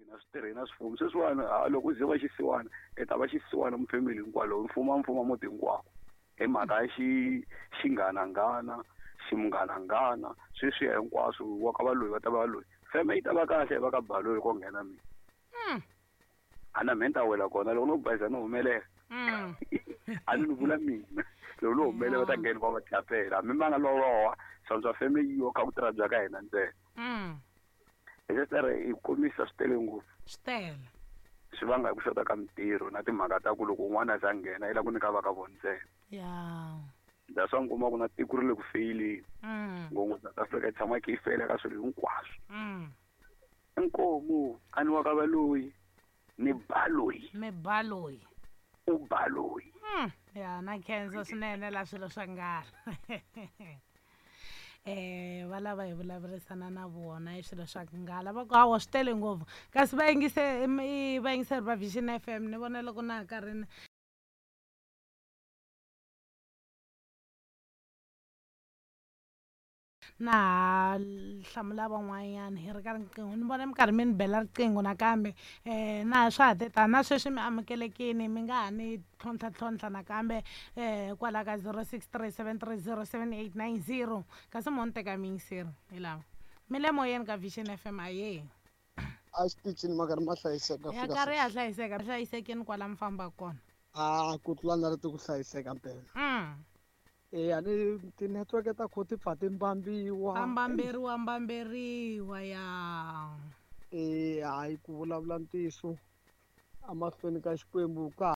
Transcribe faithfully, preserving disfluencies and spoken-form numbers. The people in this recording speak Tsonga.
Hina swi tirhi na swifumo sweswiwani a loko u ze va xisiwana i ta va xisiwana mufemeli hinkwalo mfumo mfumo muti hinkwawo hi mhaka ya xi xinghananghana ximunghananghana sweswiya hinkwaswo wa ka valoyi va ta va loyi feme yi ta va kahle va ka baloyi ko nghena mina Mm. a na mehe ni ta wela kona loko no bayiza no humelela Mm. a ni ni vula mina loko no humelela va ta nghena va va tlapela hambi ma nga loloha swa feme yiwa kha ku tirha bya ka hina ntsena Mm. hi sesere hi komisa swi tele ngopfu Swi tele. swi vanga hi ku xota ka mintirho na timhaka ta ku loko un'wana a za nghena i lava ku nyika va ka vona ntsena Ya. that's why mi kuma ku na tiko ri le ku feyileni Mm. ngopfu South Africa yi tshama yi kha yi feyila ka swilo hinkwaswo Mm. inkomu a ni wa ka valoyi ni baloyi Mi baloyi. u baloyi Mm. Ya na khensa swinene la swilo swa nghala. Eh va lava hi vulavurisana na vona hi swilo swa nghala va ku hawa swi tele ngopfu kasi va yingise i vayingiseri va Vision F M ni vona loko na ha karhi ni na ha hlamula van'wanyana hi ri ka riqingho ni vona mi karhi mi ni bela riqingho nakambe um na swa ha te tani na sweswi mi amukelekini mi nga ha ni tlhontlha tlhontlha nakambe um kwala ka zero six three seven three zero seven eight nine zero kasi mo ni teka miyingiseri hi lava mi le moyeni ka Vision F M ahee a xitichini ma karhi ma hlayiseka ya fika karhi sweswi. ya hlayiseka hlayisekeni kwala mi fambaka kona a ku tlula na ri ti ku hlayiseka mpela mm. eya ni tinetiweke ta kho ti pfa ti mbambiwa a mbamberiwa mbamberiwa ya e hayi ku vulavula ntiyiso emahlweni ka Xikwembu ka